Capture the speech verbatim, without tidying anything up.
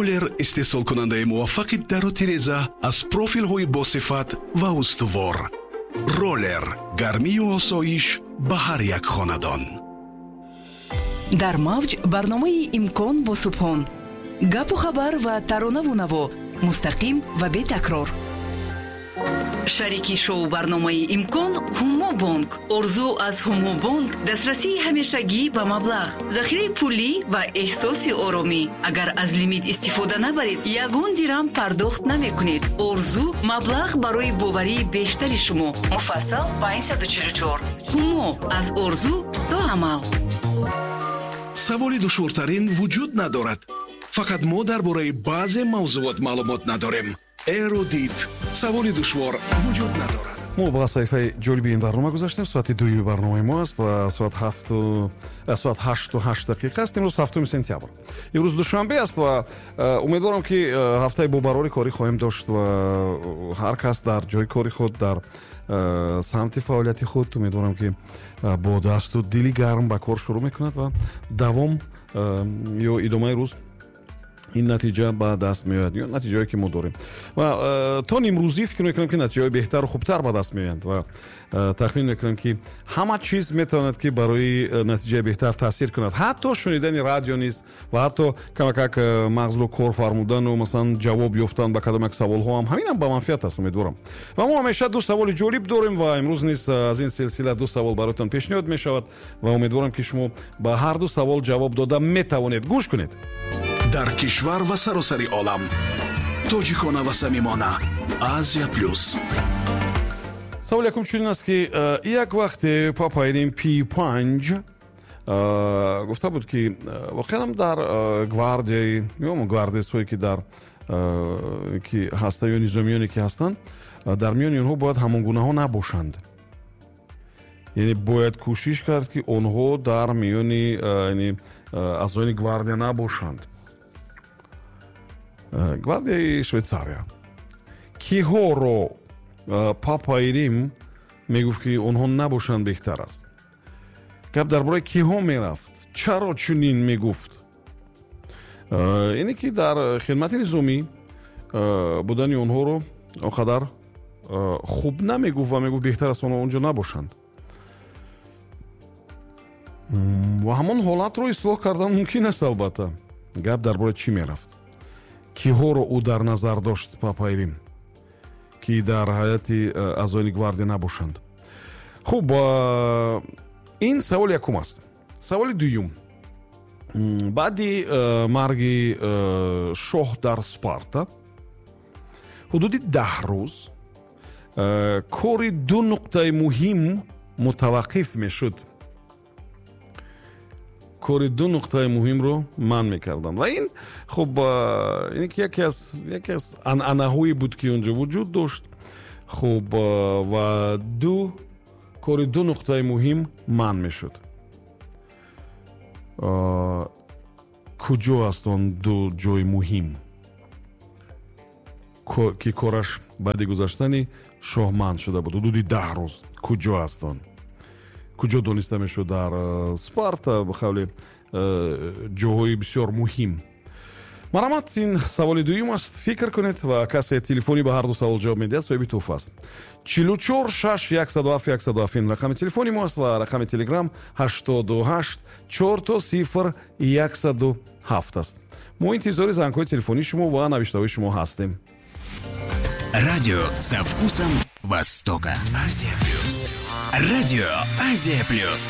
Роллер истеҳсолкунандаи муваффақи дару тиреза аз профилҳои босифат ва устувор. Роллер гармию осоиш ба ҳар як хонадон. Дар мавҷ барномаи «Имкон» бо Субҳон. Гапу хабар ва таронаву наво мустақим ва бетакрор. Шарики шоу барномаи «Имкон» Ҳумо Бонк. Орзу аз Ҳумо Бонк дастрасии ҳамешагӣ ба маблағ, захираи пулӣ ва эҳсоси оромӣ. Агар аз лимит истифода набаред, ягон дирам пардохт намекунед. Орзу маблағ барои боварии бештари шумо. Муфассал панҷсаду чилу чор. Ҳумо аз орзу то амал. Саволи душвортарин вуҷуд надорад, фақат мо дар бораи баъзе мавзуот маълумот надорем. Эрудит, саволи душвор вуҷуд надорад. Мо ба саҳифаи ҷолиби ин барнома гузаштем. Соати дуюми барномаи мо аст ва соат ҳафту соат ҳашту ҳашт дақиқа аст. Имрӯз ҳафтуми сентябр, имрӯз душанбе аст ва умедворам, ки ҳафтаи бобарори корӣ хоҳем дошт ва ҳар кас дар ҷои кори худ, дар самти фаъолияти худ, умедворам, ки бо дасту дили гарм ба кор шурӯъ мекунад ва давом ё идомаи рӯз ин натиҷа ба даст меояд ё натиҷаое, ки мо дорем, ва э, то нимрӯзӣ фикр мекунам, ки натиҷаҳои беҳтару хубтар ба даст меоянд ва э, тахмин мекунам, ки ҳама чиз метавонад, ки барои э, натиҷаи беҳтар таъсир кунад, ҳатто шунидани радио низ ва ҳатто камакак мағзро кор фармудану, масалан, ҷавоб ёфтан ба кадом як саволҳо ҳам, ҳаминам ба манфиат аст, умедворам. Ва мо ҳамеша ду саволи ҷолиб дорем ва имрӯз низ аз ин силсила ду савол бароятон пешниҳод мешавад ва умедворам, ки шумо ба ҳар ду савол ҷавоб дода метавонед. Гӯш кунед. Дар кишвар ва саросари олам тоҷикона ва самимона, Азия Плюс. Савол якум чунин аст, ки э, як вақте Папаи Рим Пи панҷ э, гуфта буд, ки э, воқеанам дар гвардияи ё гвардиясҳое, ки дар ки ҳастанд ё низомиёне, ки ҳастанд, дар миёни онҳо бояд ҳамонгунаҳо набошанд, яъне бояд кӯшиш кард, ки онҳо дар миёни аъзоёни гвардия набошанд, гвардияи Швейтсария. Киҳоро Папаи Рим мегуфт, ки онҳо набошанд беҳтар аст? Гап дар бораи киҳо мерафт? Чаро чунин мегуфт? Ине ки дар хидмати низомӣ будани онҳоро он қадар хуб намегуфт ва мегуфт, беҳтар аст онҳо онҷо набошанд ва ҳамон ҳолатро ислоҳ кардан мумкин аст. Албатта, гап дар бораи чӣ мерафт? Киҳоро ӯ дар назар дошт, Папаи Рим, ки дар ҳайати э, аъзоёни гвардия набошанд? Хуб, ин саволи якум аст. Саволи дуюм: баъди э, марги э, шоҳ дар Спарта ҳудуди даҳ рӯз кори ду нуқтаи муҳим мутаваққиф мешуд. Кори ду нуқтаи муҳимро манъ мекарданд ва ин, хуб, ин ки яке аз яке аз анъанаҳое буд, ки онҷо вуҷуд дошт. Хуб, ва ду кори ду нуқтаи муҳим манъ мешуд. Куҷо аст он ду ҷои муҳим, ки кораш баъди гузаштани шоҳ манъ шуда буд ҳудуди даҳ рӯз? Куҷо аст он? Куҷо дониста мешуд дар э, Спарта ба қавли э, ҷоҳои бисёр муҳим? Марҳамат, ин саволи дуюм аст. Фикр кунед ва касе телефонӣ ба ҳар ду савол ҷавоб медиҳад, соҳиби тӯҳфа аст. Чилу чор шаш яксаду ҳафт яксаду ҳафт ин рақами телефони мо аст ва рақами телеграм ҳаштоду ҳашт чорто сифр яксаду ҳафт аст. Мо интизори зангҳои телефонии шумо ва навиштаҳои шумо ҳастем. Радио со вкусом Востока. Азия Плюс. Радио Азия Плюс.